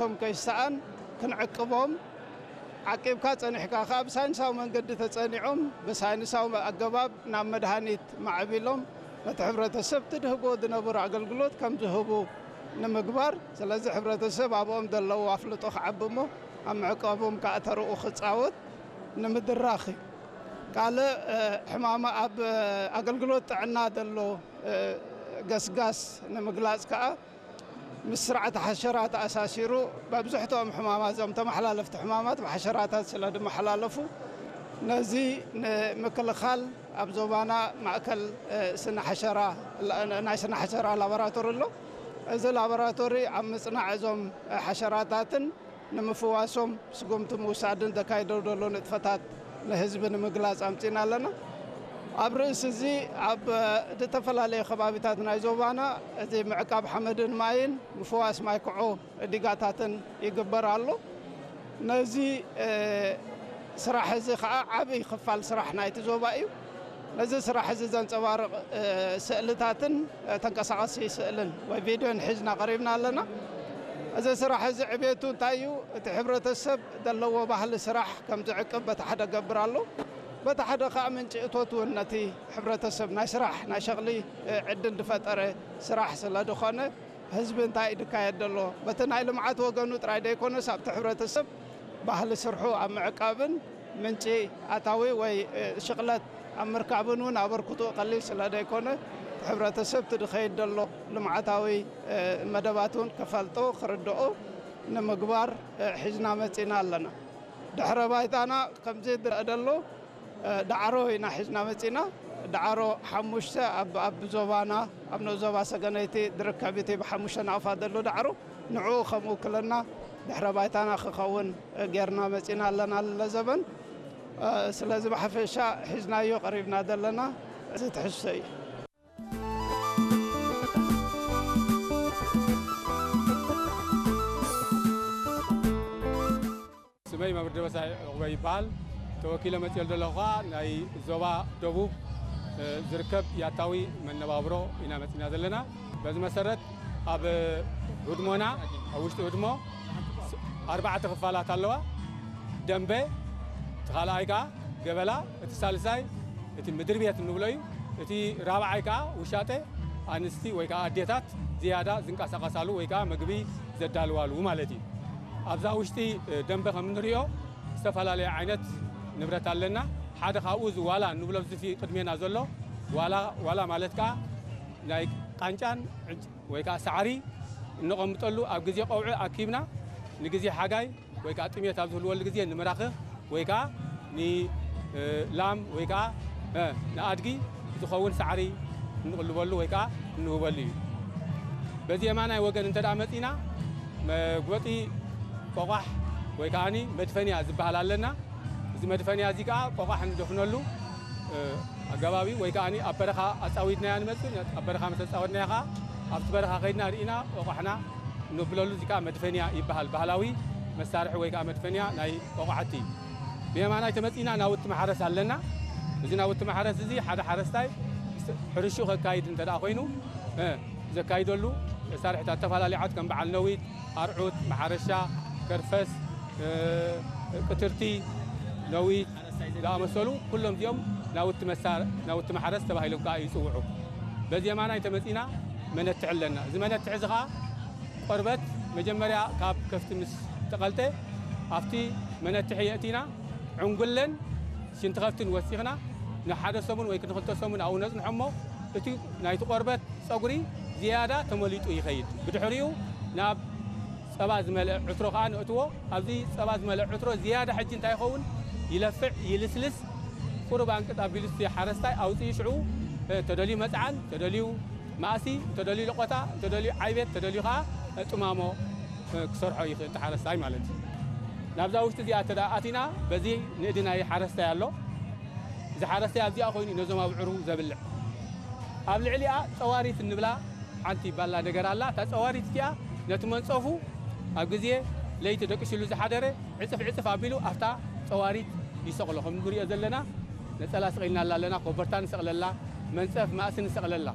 እቶም ከይሰኣን ክንዕቅቦም፣ ዓቂብካ ጸኒሕካ ከኣ ብሳይንሳዊ መንገዲ ተጸኒዖም ብሳይንሳዊ ኣገባብ ናብ መድሃኒት ማዕቢሎም ነቲ ሕብረተሰብ ትድህቦ ዝነበሩ ኣገልግሎት ከም ዝህቡ ንምግባር፣ ስለዚ ሕብረተሰብ ኣብኦም ዘለዎ ኣፍልጦ ክዓቢ እሞ ኣብ ምዕቃቦም ከኣ ተርኡ ክጻወት ንምድራኽ እዩ። ካልእ ሕማማ ኣብ ኣገልግሎት ጥዕና ዘሎ ገስጋስ ንምግላጽ ከኣ ምስ ስርዓተ ሓሸራ ተኣሳሲሩ መብዝሕትኦም ሕማማት እዞም ተመሓላለፍቲ ሕማማት ብሓሸራታት ስለ ዝመሓላለፉ ነዚ ንምክልኻል ኣብ ዞባና ማእከል ስነ ሓሸራ ናይ ስነ ሓሸራ ላቦራቶሪ ኣሎ። እዚ ላቦራቶሪ ኣብ ምጽናዕ እዞም ሓሸራታትን ንምፍዋሶም ስጉምቲ ምውሳድን ዘካይዶ ዘሎ ንጥፈታት ንህዝቢ ንምግላጽ ኣምጺና ኣለና። ኣብ ርእሲ እዚ ኣብ ዝተፈላለዩ ከባቢታት ናይ ዞባና እዚ ምዕቃብ ሓመድን ማይን ምፍዋስ ማይ ክዖ ዲጋታትን ይግበር ኣሎ። ነዚ ስራሕ እዚ ከዓ ዓብይ ክፋል ስራሕ ናይቲ ዞባ እዩ። ነዚ ስራሕ እዚ ዘንፀባርቕ ስእልታትን ተንቀሳቐሲ ስእልን ወይ ቪድዮን ሒዝና ቀሪብና ኣለና። እዚ ስራሕ እዚ ዕቤቱ እንታይ እዩ? እቲ ሕብረተሰብ ዘለዎ ባህሊ ስራሕ ከም ዝዕቅብ በቲ ሓደ ገብር ኣሎ። በቲ ሓደ ከዓ ምንጪ እቶት እውን ነቲ ሕብረተሰብ ናይ ስራሕ ናይ ሸቕሊ ዕድል ዝፈጠረ ስራሕ ስለ ዝኾነ ህዝቢ እንታይ እዩ ዝካየድ ዘሎ? በቲ ናይ ልምዓት ወገኑ ጥራይ ዘይኮነስ ኣብቲ ሕብረተሰብ ባህሊ ስርሑ ኣብ ምዕቃብን ምንጪ ኣታዊ ወይ ሽቕለት ኣብ ምርካብን እውን ኣበርክቶ ቀሊል ስለ ዘይኮነ ሕብረተሰብ እቲ ዝኸይድ ዘሎ ልምዓታዊ መደባት እውን ክፈልጦ ክርድኦ ንምግባር ሒዝና መፂና ኣለና። ድሕረ ባይታና ከምዚ ዝረአ ዘሎ ዳዕሮ ኢና ሒዝና መፂና። ዳዕሮ ሓሙሽተ ኣብ ኣብ ዞባና ኣብ ንኡስ ዞባ ሰገነይቲ ዝርከብ እቲ ብሓሙሽተ ናቕፋ ዘሎ ዳዕሮ ንዕኡ ከም ውክልና ድሕረ ባይታና ክኸውን ጌርና መፂና ኣለና ለዘበን። ስለዚ ብሓፈሻ ሒዝናዮ ቀሪብና ዘለና እዚ ትሕዝቶ እዩ። ስመይ መምህር ደበሳይ ዕቑበ ይበሃል። ተወኪለ መፂኦ ዘለኹ ከዓ ናይ ዞባ ደቡብ ዝርከብ ያታዊ መነባብሮ ኢና መፂና ዘለና። በዚ መሰረት ኣብ ህድሞና ኣብ ውሽጢ ህድሞ ኣርባዕተ ክፋላት ኣለዋ። ደንበ፣ እቲ ካልኣይ ከዓ ገበላ፣ እቲ ሳልሳይ እቲ ምድሪ ቤት እንብሎ እዩ። እቲ ራብዓይ ከዓ ውሻጠ፣ ኣንስቲ ወይ ከዓ ኣዴታት ዝያዳ ዝንቀሳቐሳሉ ወይ ከዓ ምግቢ ዘዳልዋሉ ማለት እዩ። ኣብዛ ውሽጢ ደንበ ከም እንሪኦ ዝተፈላለየ ዓይነት ንብረት ኣለና። ሓደ ካብኡ እዚ ዋላ እንብሎ ኣብዚ ፊ ቅድሜና ዘሎ ዋላ፣ ዋላ ማለት ከዓ ናይ ቃንጫን ወይ ከዓ ሳዕሪ እነቐምጠሉ ኣብ ግዜ ቀውዒ ኣኪብና ንግዜ ሓጋይ ወይ ከዓ ጥሜት ኣብ ዝህልወሉ ግዜ ንምራኽኽ ወይ ከዓ ንላም ወይ ከዓ ንኣድጊ ዝኸውን ሳዕሪ እንቕልበሉ ወይ ከዓ እንህበሉ እዩ። በዚ የማናይ ወገን እንተ ደኣ መፂና መጉበጢ ቆቋሕ ወይ ከዓ መድፈንያ ዝበሃል ኣለና። እዚ መድፈንያ እዚ ከዓ ቆቋሕ እንደፍነሉ ኣገባብ እዩ። ወይ ከዓ ኣብ በረኻ ኣፃዊድናያ ንመፅእ፣ ኣብ በረኻ ምስ ኣፃወድናያ ከዓ ኣብቲ በረኻ ከይድና ርኢና ቆቋሕና ነብለሉ። እዚ ከዓ መድፈንያ ይበሃል። ባህላዊ መሳርሒ ወይ ከዓ መድፈንያ ናይ ቆቋሕቲ። ብየማናይ ተመፂና ናውቲ ማሕረስ ኣለና። እዚ ናውቲ ማሕረስ እዚ ሓደ ሓረስታይ ሕርሽኡ ከካይድ እንተ ደኣ ኮይኑ ዘካይደሉ መሳርሕታት ዝተፈላለዩ ዓት ከም በዓል ነዊት፣ ኣርዑት፣ ማሓረሻ፣ ከርፈስ፣ ቅትርቲ፣ ነዊት ዝኣመሰሉ ኩሎም እዚኦም ናውቲ መሳር ናውቲ ማሕረስ ተባሂሎም ከዓ ይፅውዑ። በዚ የማናይ ተመፂና መነትሒ ኣለና። እዚ መነትሒ እዚ ከዓ ቆርበት መጀመርያ ካብ ከፍቲ ምስ ተቐልጠ ኣብቲ መነትሒ የእቲና ዕንጉለን ሽንቲ ከፍትን ወሲኽና ንሓደ ሰሙን ወይ ንክልተ ሰሙን ኣብኡ ነፅንሖ እሞ እቲ ናይቲ ቆርበት ፀጉሪ ዝያዳ ተመሊጡ ይኸይድ። ብድሕሪኡ ናብ ፀባ ዝመልአ ዕትሮ ከዓ ነእትዎ። ኣብዚ ፀባ ዝመልአ ዕትሮ ዝያዳ ሕጂ እንታይ ይኸውን? ይለፍዕ፣ ይልስልስ። ቁሩብ ኣንቅጥ ኣቢሉ እቲ ሓረስታይ ኣውፅኡ ሽዑ ተደልዩ መፅዓን፣ ተደልዩ ማእሲ፣ እንተደልዩ ለቆታ፣ እንተደልዩ ዓይቤት፣ እንተደልዩ ከዓ ጥማሞ ክሰርሖ ይኽእል እቲ ሓረስታይ ማለት እዩ። ናብዛ ውሽጢ እዚኣ እንተ ደኣ ኣቲና በዚ ንእዲ ናይ ሓረስታይ ኣሎ። እዚ ሓረስታይ ኣብዚኣ ኮይኑ እዩ ነዞም ኣብዕሩ ዘብልዕ። ኣብ ልዕሊኣ ፀዋሪት እንብላ ሓንቲ ባላ ነገር ኣላ። እታ ፀዋሪት እቲኣ ነቲ መንፀፉ ኣብ ግዜ ለይቲ ደቂስሉ ዝሓደረ ዕፅፍ ዕፅፍ ኣቢሉ ኣብታ ፀዋሪት ይሰቕሎ። ከም ንሪኦ ዘለና ነፀላ ስቒልና ኣላ ኣለና፣ ኮበርታ ንሰቕለላ፣ መንፀፍ ማእሲ ንሰቕለላ።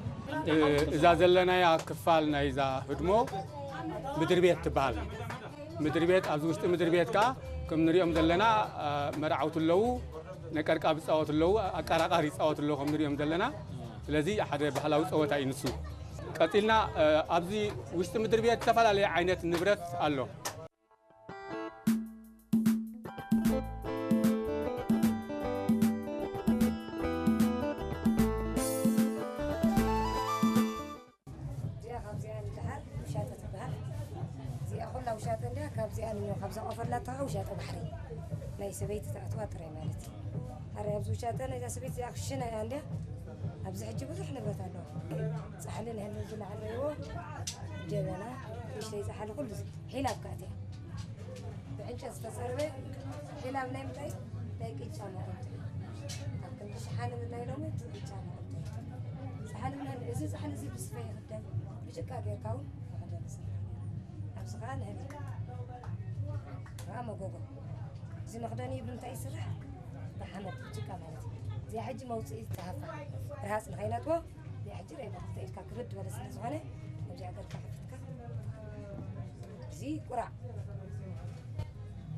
እዛ ዘለናያ ክፋል ናይዛ ህድሞ ምድሪ ቤት ትበሃል። ምድሪ ቤት፣ ኣብዚ ውሽጢ ምድሪ ቤት ከኣ ከም ንሪኦም ዘለና፣ አ፣ መርዓውቲ ኣለዉ፣ ነቀርቃብ ይጻወቱ ኣለዉ፣ ኣቃራቃር ይጻወቱ ኣለዉ ከም ንሪኦም ዘለና። ስለዚ ሓደ ባህላዊ ጸወታ እዩ ንሱ። ቀጺልና፣ አ፣ ኣብዚ ውሽጢ ምድሪ ቤት ዝተፈላለየ ዓይነት ንብረት ኣሎ። እዚኣ ካብዚኣ ንደሓር ውሻጠ ትበሃል። እዚኣ ኩላ ውሻጠ እንድያ፣ ካብዚኣ ንዮ፣ ካብዛ ቆፈላታ ውሻጠ ባሕሪ ናይ ሰበይቲ ተኣትዋ ጥራይ ማለት እዩ። ኣረ ኣብዚ ውሻጠ ናይዛ ሰበይቲ እዚኣ ክሽነ እያ እንድያ። ኣብዚ ሕጂ ብዙሕ ንብረት ኣለዋ። ጻሕሊ ንህሊ ዝለዓለዎ ጀበና፣ ንእሽተይ ጻሕሊ ኩሉ እዚ ሒላብ ከኣትያ። ብዕንጨት ዝተጸረበ ሒላብ ናይ ምንታይ? ናይ ቅጫ መቐንጠሪ። ኣብ ክንዲ ሸሓኒ ምድላይ ሎሚ እቲ ቅጫ መቐንጠሪ። ጻሕሊ ምድላይ፣ እዚ ጻሕሊ እዚ ብስፈ ይኽደን፣ ብጭቃ ጌርካ እውን መኽደኒ ይስራሕ። ኣብዚ ኸኣ ንህቢ። ኸኣ መጎጎ። እዚ መኽደኒ ብምንታይ ይስራሕ? ብሓመድ፣ ብጭቃ ማለት እዩ። እዚኣ ሕጂ መውጽኢ ዝተሃፋ ርሃጽ ንኸይነጥቦ እዚኣ ሕጂ ርአይ ብኽልተ ኢድካ ክብድ ዝበለ ስለ ዝኾነ፣ ነዚኣ ገርካ ከፊትካ። እዚ ቁራዕ።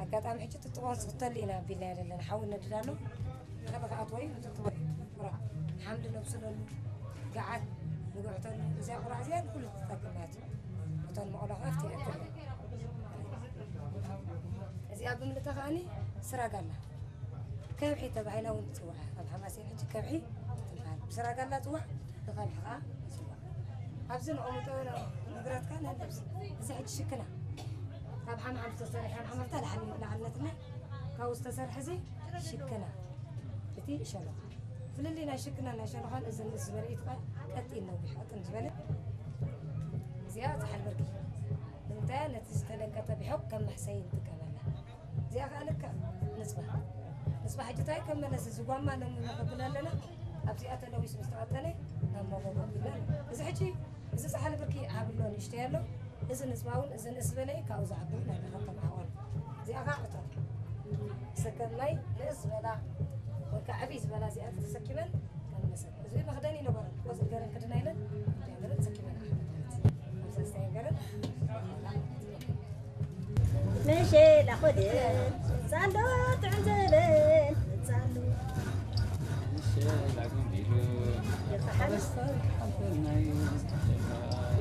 ኣጋጣሚ ሕጂ ጥጥቖ ንስኽተሉ ኢና ኣቢልናዮ ዘለና። ሓዊ ነድድ ኣሎ። ገለ ክኣትዎ እዩ፣ ንጥጥቖ እዩ። ቁራዕ። ሓምሊ ነብስለሉ፣ ገዓት ንግዕተሉ። እዚኣ ቁራዕ እዚኣ ንኹሉ ትጠቅም ማለት እዩ። እቶን መቕሎ ከኣ ኣብቲ ይኣክል። እዚኣ ብምልእታ ከኣኒ ስራጋላ። ከብሒ ተባሂላ እውን ትጽዋዕ። ኣብ ሓማሴን ሕጂ ከብሒ ትበሃል። ብስራጋላ ትጽዋዕ፣ ብኸብሒ ኸዓ ትጽዋዕ። ኣብዚ ነቐምጦ ንብረትካ ነልብስ። እዚ ሕጂ ሽክና። ካብ ሓምሓም ዝተሰርሐ፣ ሓምሓም ኣብታ ላዕሊ፣ ላዕልነትና ካብኡ ዝተሰርሐ እዚ ሽክና። እቲ ሸሎኻ። ፍልልይ ናይ ሽክና ናይ ሸሎኻን እዚ ንእስ ዝበለ እዩ። ቀጢን ነዊሕ ቀጥን ዝበለ። እዚኣ ጻሕሊ ብርቂ። ንምንታይ ነቲ ዝተደንቀጠ ቢሖ ከም መሕሰይ ንጥቀመላ። እዚኣ ከኣ ልክዕ ንጽባ። ንጽባ ሕጂ እንታይ ከም መለስ እዚ ጓማ ነምሎ ከብለለና ኣብዚኣ ተለዊሱ ምስ ተቐጠነ ናብ መጎጎ ቢልና። እዚ ሕጂ እዚ ጻሕሊ ብርቂ ዓብሎ ንእሽተይ ኣሎ። እዚ ንጽባ እውን እዚ ንእስ ዝበለ እዩ፣ ካብኡ ዝዓቢ እውን ኣሎ፣ ከም ዓቐኑ። እዚኣ ከኣ ዕቶ። ሰከም ማይ ንእስ ዝበላ ወይ ከኣ ዕብይ ዝበላ እዚኣ ተሰኪመን ከም መሰብ። እዚ መኽደኒ ይነበረን፣ ቆጽሊ ገረን ክድና ኢለን፣ እንታይ ገረን ተሰኪመን ኣሕመድ ማለት እዩ። ኣብዚ ኣስተያየት ገረን መሸላ ኾደን ጻሎ ጥዕም ዘበን ጻሎ።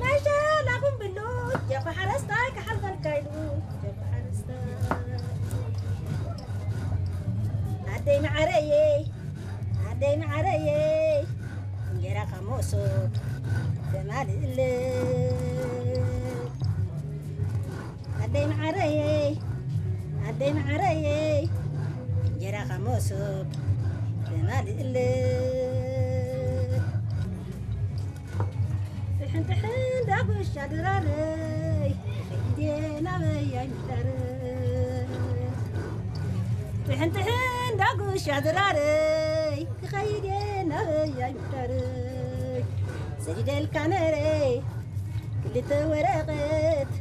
መሸላ ጉምብሉ ጀርኮ ሓረስታይ ክሓልፈልካ ኢሉ ጀርኮ ሓረስታይ። ኣደይ መዓረየይ ኣደይ መዓረየይ እንጌራ ካብ መሶብ ተማልእለይ። ኣደይ መዓረየይ ኣደይ መዓረየይ እንጌራ ካብ መሶብ ተማልእለይ። ጥሕን ጥሕን ዳጉሻ ድራረይ ክኸይድ እየ ናበይ ኣይምሕደር። ጥሕን ጥሕን ዳጉሻ ድራረይ ክኸይድ እየ ናበይ ኣይምሕደር። ሰዲደልካ ነረይ ክልተ ወረቐት፣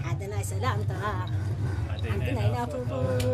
ሓደ ናይ ሰላምታ፣ ሓንቲ ናይ ናፍቖት።